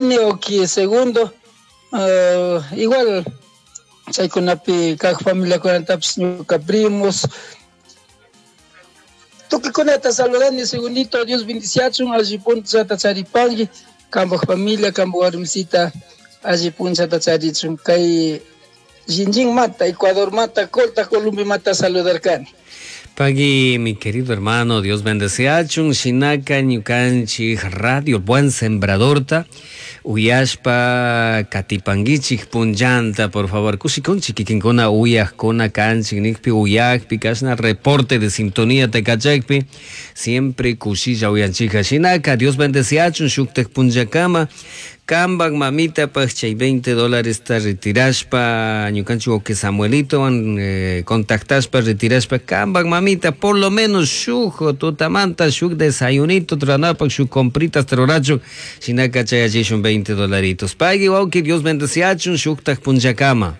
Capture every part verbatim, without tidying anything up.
Oki segundo uh, igual chaykunapi kaq familiakunatapish ñuka primos tukuy saludani segundito. Dios bendiciachun, alli punchata charipanki, kanpak familia, kanpak warmisita alli punchata charichun. Kay Jinjin mata, Ecuador mata, Colta, Colombia mata saludarkani. Pagui, mi querido hermano, Dios bendeciachun, shinaka ñukanchik Radio Buen Sembradorta, uyashpa katipanguichik punllanta, por favor, kushikunchik kikinkuna uyajkuna kanchik nikpi uyajpi kashna reporte de sintonía tekachakpi, siempre kushilla uyanchika. Shinaka, Dios bendeciachun, shuktak punllakama, kanpak mamita paj chay veinte dólares ta retirashpa ñukanchik que Samuelito eh, contactashpa retirashpa kanpak mamita por lo menos shuk tutamanta shuk desayunito tranapak shuk compritas rurachun shinaka chayachishun veinte dolaritos. Pagui wawki, Dios bendeciachun, shuktak punllakama.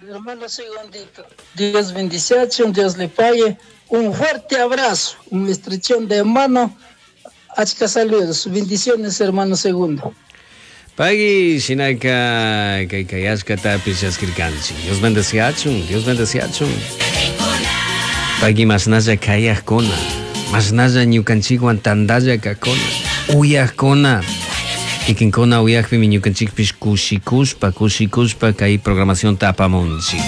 Hermano segundito, Dios bendiciachun, Dios le pague. Un fuerte abrazo, un estrechón de mano. Achka saludos, bendiciones, hermano segundo. Pagui, shinaka, kay kayashka tapish yaskirkanchik. Dios bendeciachun, Dios bendeciachun. Pagui, masnalla kayajkuna, masnalla ñukanchikwan tandalla kakuna, uyajkuna. Kikinkuna uyajpimi ñukanchikpish kushikushpa, kushikushpa kay programación tapamunchik.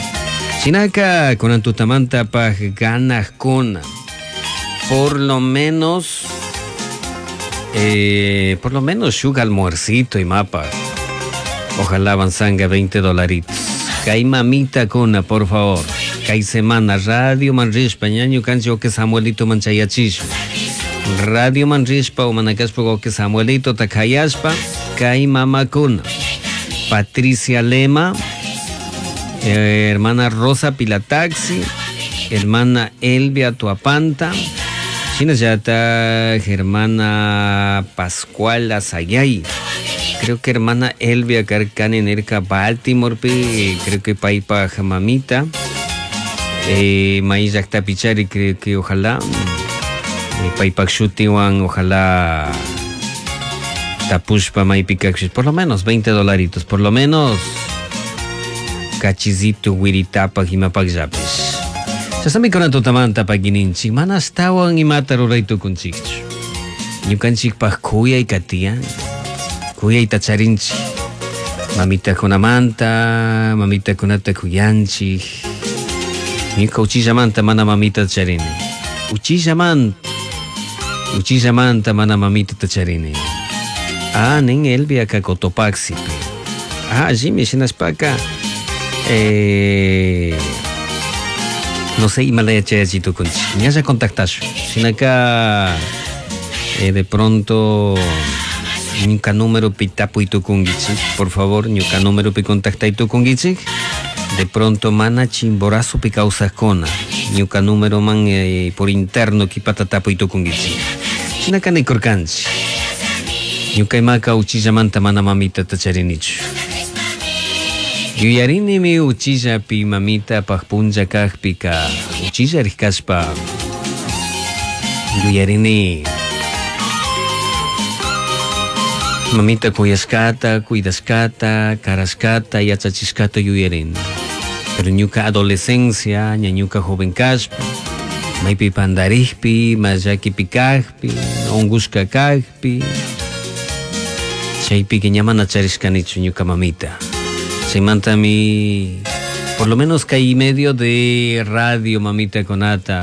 Shinaka, kunan tutamanta paj ganajkuna. Por lo menos... Eh, por lo menos shuk almuercito y mapa. Ojalá avanzanga veinte dolaritos. Kay mamita kuna, por favor. Kay semana Radio Manrishpa, ñaño cancho que Samuelito manchayachishu. Radio Manrishpa o manacaspa que Samuelito takayashpa. Kay mama kuna. Patricia Lema, eh, hermana Rosa Pilataxi, hermana Elvia Tuapanta, Shinayata, hermana Pascual Azayay. Creo que hermana Elvia Carcani Nerca Baltimore, creo que Paipa Jamamita. Eh, Maíz Tapichari, creo que ojalá. Eh, Paipa Shutiwan, ojalá. Tapushpa Maipicaxis, por lo menos veinte dolaritos, por lo menos. Cachizito, Wiritapa, Jimapak Yapis. Chasami kuna tutamanta pakininchik, mana astawan imata ruray tukunchikchu. Ñukanchikpaj kuyay katiyan, kuyayta charinchik. Mamitakunamanta, mamitakunata kuyanchik. Ñuka uchillamanta mana mamita charini. Uchillamanta, uchillamanta mana mamita charini. Ah, nin Elvia ka Cotopaxipi. Ah, allimi shinashpaka. Eh... No sé, imalaya chayachito kunchik. Ñalla contactashu. Shinaka eh, de pronto ñuka número pi tapuy tukunkichik. Por favor, ñuka número pi contactay tukunkichik. De pronto mana Chimborazo pi kawsajkuna. Ñuka número man eh, por interno kipata tapuy tukunkichik. Shinaka nikurkanchik. Ñuka imaka uchillamanta mana mamita tacharinichu. Yuyarinimi uchillapi mamita paj punlla kajpika uchilla rikashpa yuyarini mamita kuyashkata, cuidashkata, karashkata, yachachishkata yuyarini. Pero ñuka adolescencia, ña ñuka joven kashpa, maypi pandarikpi, mallakipi kajpi, ungushka kajpi, chaypika ña mana charishkanichu ñuka mamita. Chaymantami, por lo menos kay medio de radio mamita konata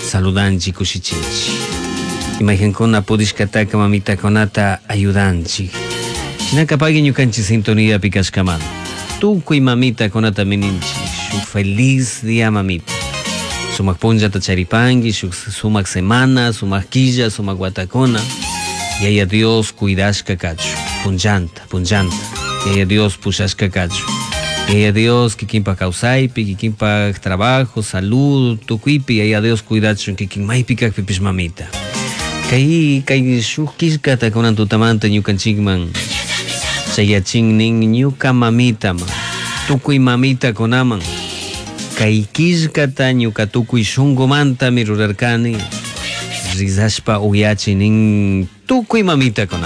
saludanchik kushichinchik. Imagenkuna pudishkataka mamita konata ayudanchik. Shinaka pagui ñukanchik sintonía pikashkaman. Tukuy mamita konata mininchik. Shuk feliz día mamita. Sumak punllata charipanki, shuk sumak semana, sumak quilla, sumak watakuna. Yaya Dios cuidashka kachu. Punllanta, punllanta. Yaya Dios pushashka kachu. Yaya Dios kikinpa kawsaypi, kikinpa trabajo, salud, tukuypi, Yaya Dios cuidachun kikin maypi kajpipish mamita. Kay kay shuk killkata kunan tutamanta ñukanchikman chayachin nin ñuka mamitaman, tukuy mamita kunaman. Kay killkata ñuka tukuy shunkumantami rurarkani, rizashpa uyachi nin Tukuy mamitakunaman.